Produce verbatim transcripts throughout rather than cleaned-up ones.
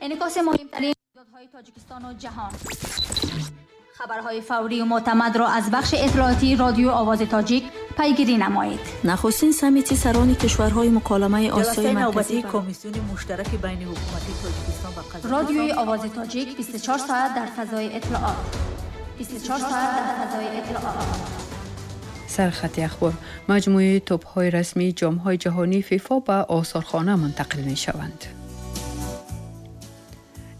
Инъикоси муҳимтарин рӯйдодҳои Тоҷикистону ҷаҳон. Хабарҳои фаврию мӯътамадро аз бахши иттилоотии Радиои Овози Тоҷик пайгирӣ намоед. Нахустин саммити сарони кишварҳои муколамаи Осиёи Ҷаласаи Марказӣ навбатии Комиссиони муштараки байни ҳукумати Тоҷикистон ва Қазоқистон. Радиои Овози Тоҷик бисту чор соат дар фазои иттилоот. бисту чор соат дар фазои иттилоот. Сархати ахбор. Маҷмӯи тӯпҳои расмии ҷомҳои ҷаҳонии ФИФА ба осорхона мунтақил мешаванд.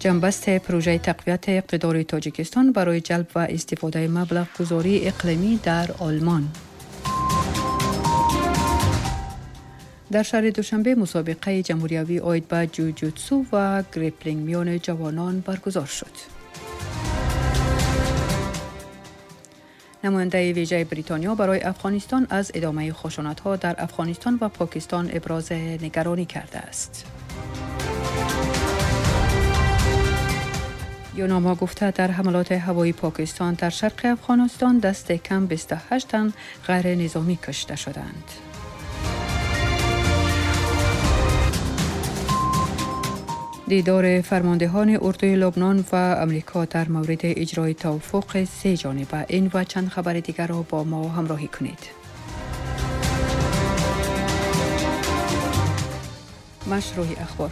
Ҷанбасти пурӯжаи тақвияти иқтидори Тоҷикистон барои ҷалб ва истифодаи маблағгузории иқлимӣ дар Олмон. Дар шаҳри Душанбе мусобиқаи ҷумҳуриявӣ оид ба ҷуҷутсу ва греплинг миёни ҷавонон баргузор шуд. Намояндаи вижаи Бритониё барои Афғонистон аз идомаи хушунатҳо дар Афғонистон ва Покистон ибрози нигаронӣ кардааст. ЮНАМА гуфта дар ҳамалоти ҳавоии Покистон дар шарқи Афғонистон дасти кам бисту ҳашт тан ғайринизомӣ кушта шуданд. Дидори фармондеҳони урдуи Лубнон ва Амрико дар мавриди иҷрои тавофуқи се ҷониба. Ин ва чанд хабари дигарро бо мо ҳамроҳӣ кунед. Машрӯҳи ахбор.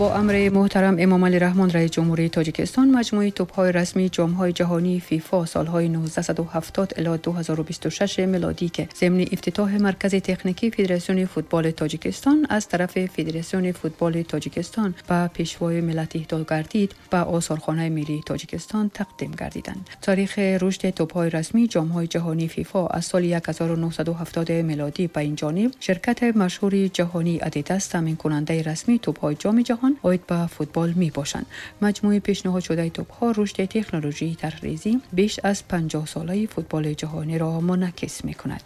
Бо амри муҳтарам Эмомалӣ Раҳмон, раиси ҷумҳурии Тоҷикистон, маҷмӯи тӯпҳои расмии ҷомҳои ҷаҳонии ФИФА солҳои нуздаҳсаду ҳафтод ило ду ҳазору бисту шаш милодӣ, ки зимни ифтитоҳи Маркази техникии Федератсиони футболи Тоҷикистон аз тарафи Федератсиони футболи Тоҷикистон ба Пешвои миллат иҳдо гардид, ба осорхонаи миллии Тоҷикистон тақдим гардиданд. Таърихи рушди тӯпҳои расмии ҷомҳои ҷаҳонии ФИФА аз соли ҳазору нӯҳсаду ҳафтод милодӣ ба ин ҷониб ширкати машҳури ҷаҳонии Адидас таъминкунандаи расмии тӯпҳои ҷоми ҷаҳон оид ба футбол мебошанд. Маҷмӯи пешниҳодшудаи тӯпҳо рушди технологияи тарҳрезӣ беш аз панҷоҳсолаи футболи ҷаҳониро мунъакис мекунад.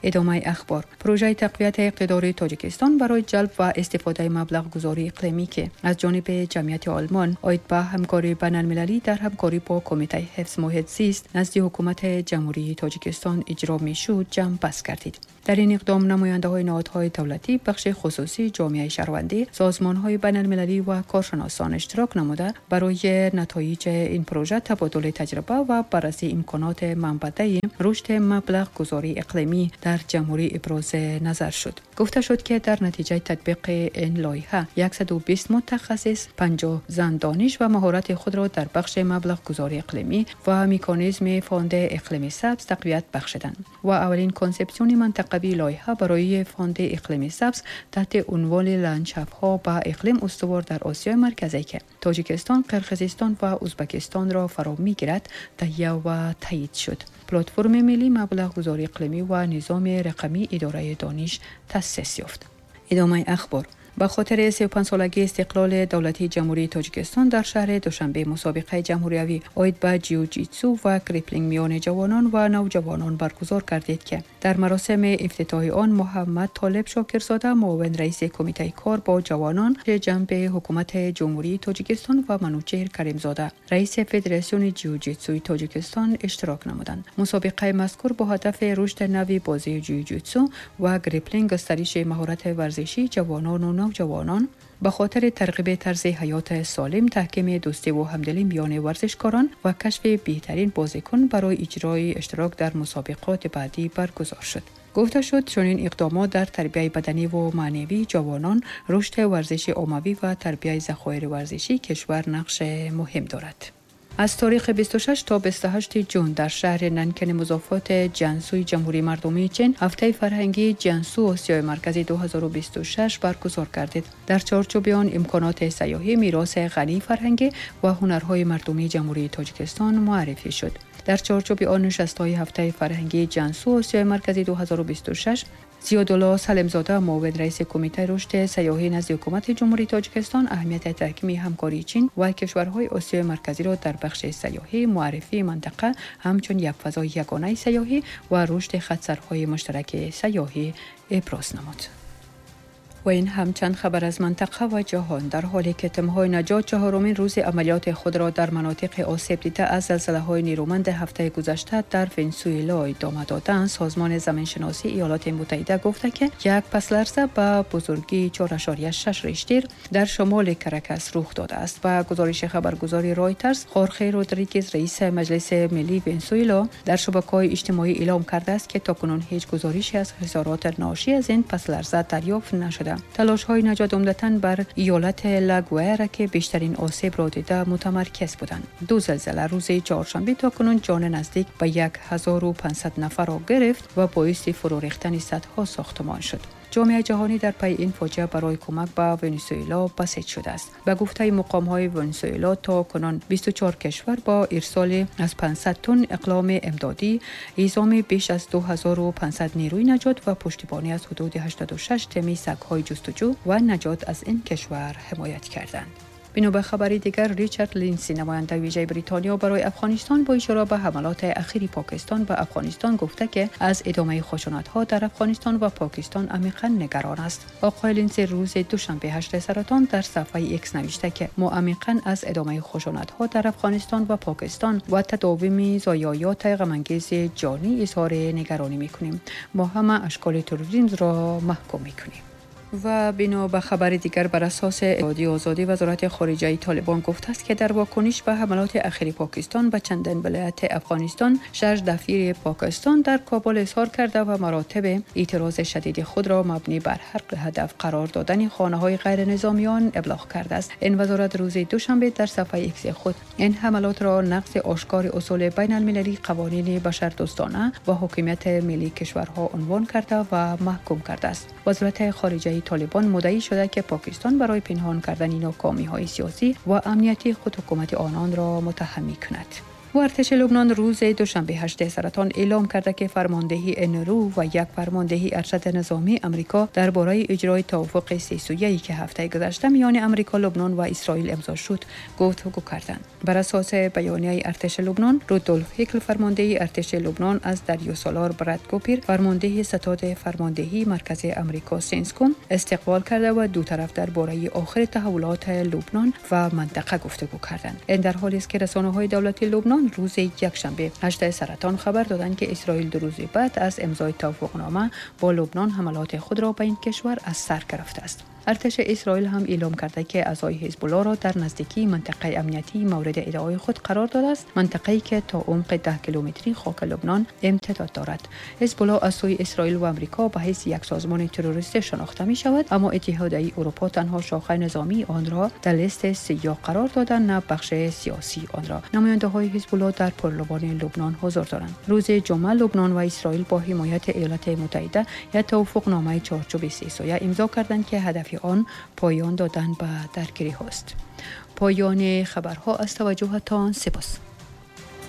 Идомаи ахбор. Пурӯжаи тақвияти иқтидори Тоҷикистон барои ҷалб ва истифодаи маблағгузории иқлимӣ, ки аз ҷониби Ҷамъияти Олмон оид ба ҳамкории байналмилалӣ дар ҳамкорӣ бо Кумитаи ҳифз муҳит зист назди Ҳукумати Ҷумҳурии Тоҷикистон иҷро мешуд, ҷамъбаст гардид. Дар ин иқдом намояндаҳои ниҳодҳои давлатӣ, бахши хусусӣ, ҷомеаи шаҳрвандӣ, созмонҳои байналмилалӣ ва коршиносон иштирок намуда барои натоиҷи ин пурӯжа табодули таҷриба ва баррасии имконоти манбаъдаи рушди маблағгузории иқлимӣ дар ҷумҳурӣ ибрози назар шуд. Гуфта шуд, ки дар натиҷаи татбиқи ин лоиҳа яксаду бист мутахассис, панҷоҳ зан дониш ва маҳорати худро дар бахши маблағгузории иқлимӣ ва меканизми фонди иқлими сабз тақвият бахшиданд ва аввалин консепсиони минтақавии лоиҳа барои фонди иқлими сабз таҳти унвони ландшафтҳо ба иқлим устувор дар Осиёи Марказӣ, ки Тоҷикистон, Қирғизистон ва Ӯзбекистонро фаро мегирад, таҳия ва таъйид шуд. Платформи миллии маблағгузории иқлимӣ ва низоми рақамии идораи дониш таъсис ёфт. Идомаи ахбор. Ба хотири сию панҷсолагии истиқлоли давлатии Ҷумҳурии Тоҷикистон дар шаҳри Душанбе мусобиқаи ҷумҳуриявӣ оид ба ҷиу-ҷитсу ва греплинг миёни ҷавонон ва навҷавонон баргузор гардид, ки дар маросими ифтитоҳи он Муҳаммад Толиб Шокирзода, муовин раиси Кумитаи кор бо ҷавонон ҷанби Ҳукумати Ҷумҳурии Тоҷикистон ва Манучеҳр Каримзода, раиси Федератсиони ҷиу-ҷитсуи Тоҷикистон иштирок намуданд. Мусобиқаи мазкур бо ҳадафи рушди нави бозии ҷиу-ҷитсу ва греплинг, густариши маҳорати варзишии ҷавонону навҷавонон ба хотири тарғиби тарзи ҳаёти солим, таҳкими дӯстиву ҳамдилӣ миёни варзишкорон ва кашфи беҳтарин бозикун барои иҷрои иштирок дар мусобиқоти баъдӣ баргузор шуд. Гуфта шуд, чунин иқдомот дар тарбияи баданиву маънавии ҷавонон, рушди варзиши оммавӣ ва тарбияи захоири варзишии кишвар нақши муҳим дорад. Аз таърихи бисту шаш то бисту ҳашти ҷун дар шаҳри Нанкини музофоти Ҷансуи Ҷумҳурии Мардумии Чин ҳафтаи фарҳангии Ҷансу Осиёи Марказӣ ду ҳазору бисту шаш баргузор гардид. Дар чорчӯби он имконоти сайёҳӣ, мероси ғании фарҳангӣ ва ҳунарҳои мардумии Ҷумҳурии Тоҷикистон муаррифӣ шуд. Дар чорчӯби он нишастҳои ҳафтаи фарҳангии Ҷансу Осиёи Марказӣ ду ҳазору бисту шаш Зиёдулло Салимзода, муовин раиси Кумитаи рушди сайёҳӣ назди Ҳукумати Ҷумҳурии Тоҷикистон, аҳамияти таҳкими ҳамкории Чин ва кишварҳои Осиёи Марказиро дар бахши сайёҳӣ, муаррифии минтақа ҳамчун як фазои ягонаи сайёҳӣ ва рушди хатсарҳои муштараки сайёҳӣ иброз намуд. و این هم چند خبر از منطقه و جهان. در حالی که تیم‌های نجات چهارمین روز عملیات خود را در مناطق آسیب دیده از زلزله‌های نیرومند هفته گذشته در ونزوئلا ادامه دادند، سازمان زمینشناسی ایالات متحده گفته که یک پس لرزه به بزرگی چهار اعشاریه شش ریشتر در شمال کرکس رخ داده است. و گزارش خبرگزاری رایترز، خورخه رودریگز رئیس مجلس ملی ونزوئلا در شبکه‌های اجتماعی اعلام کرده است که تاکنون هیچ گزارشی از خسارات ناشی از این پس لرزه دریافت نشده. تلاش‌های نجات عمدتاً بر ایالت لاگوئرا که بیشترین آسیب را دیده متمرکز بودند. دو زلزله روز چهارشنبه تاکنون جان نزدیک به هزار و پانصد نفر را گرفت و باعث فرو ریختن صدها ساختمان شد. جامعه جهانی در پی این فاجعه برای کمک به ونزوئلا بسیج شده است. به گفته مقام‌های ونزوئلا تا کنون بیست و چهار کشور با ارسال از پانصد تن اقلام امدادی، اعزام بیش از دو هزار و پانصد نیروی نجات و پشتیبانی از حدود هشتاد و شش تیم سگ‌های جستجو و نجات از این کشور حمایت کردند. بنا به خبری دیگر، ریچارد لینسی نماینده ویژه بریتانیا برای افغانستان با اشاره به حملات اخیر پاکستان به افغانستان گفته که از ادامه خشونت‌ها در افغانستان و پاکستان عمیقاً نگران است. آقای لینسی روز دوشنبه هشتم سرطان در صفحه ایکس نوشته که ما عمیقاً از ادامه خشونت‌ها در افغانستان و پاکستان و تداوم ضایعات غم‌انگیز جانی اظهار نگرانی می‌کنیم. ما همه اشکال تروریسم را محکوم می‌کنیم. و بنا به خبر دیگر، بر اساس اتحادیه آزادی، وزارت خارجه طالبان گفته است که در واکنش به حملات اخیر پاکستان به چندین ولایت افغانستان، شش دفیر پاکستان در کابل اظهار کرده و مراتب اعتراض شدید خود را مبنی بر حق هدف قرار دادن خانه‌های غیر نظامیان ابلاغ کرده است. این وزارت روز دوشنبه در صفحه ایکس خود این حملات را نقض آشکار اصول بین المللی، قوانین بشردوستانه و حاکمیت ملی کشورها عنوان کرده و محکوم کرده است. وزارت خارجه طالبان مدعی شده که پاکستان برای پنهان کردن ناکامی‌های سیاسی و امنیتی خود حکومت آنان را متهم می‌کند. و ارتش لبنان روز دوشنبه هشتم سرطان اعلام کرده که فرماندهی انرو و یک فرماندهی ارشد نظامی امریکا درباره اجرای توافق سه سویه‌ای که هفته گذشته میان امریکا، لبنان و اسرائیل امضا شد گفتگو کردند. بر اساس بیانیه ارتش لبنان، رودولف هیکل فرماندهی ارتش لبنان از دریا سالار براد کوپر فرمانده ستاد فرماندهی مرکز امریکا سنسکوم استقبال کرده و دو طرف درباره آخر تحولات لبنان و منطقه گفتگو کردند. این در حالی است که رسانه‌های دولتی لبنان روز یکشنبه هشتم سرطان خبر دادند که اسرائیل دو روز بعد از امضای توافقنامه با لبنان حملات خود را به این کشور از سر گرفته است. ارتش اسرائیل هم اعلام کرده که اعضای حزب الله را در نزدیکی منطقه امنیتی مورد ادعای خود قرار داده است، منطقه‌ای که تا عمق ده کیلومتری خاک لبنان امتداد دارد. حزب الله از سوی اسرائیل و امریکا به حیث یک سازمان تروریستی شناخته می شود، اما اتحادیه اروپا تنها شاخه نظامی آن را در لیست سیاه قرار داده، نه بخش سیاسی آن را. نماینده‌های حزب الله در پارلمان لبنان حضور دارند. روز جمعه لبنان و اسرائیل با حمایت ایالات متحده یک توافقنامه چارچوب سه سویه امضا کردند که هدف آن پایان دادن به درگیری هاست. پایان خبرها. از توجهتان سپاس.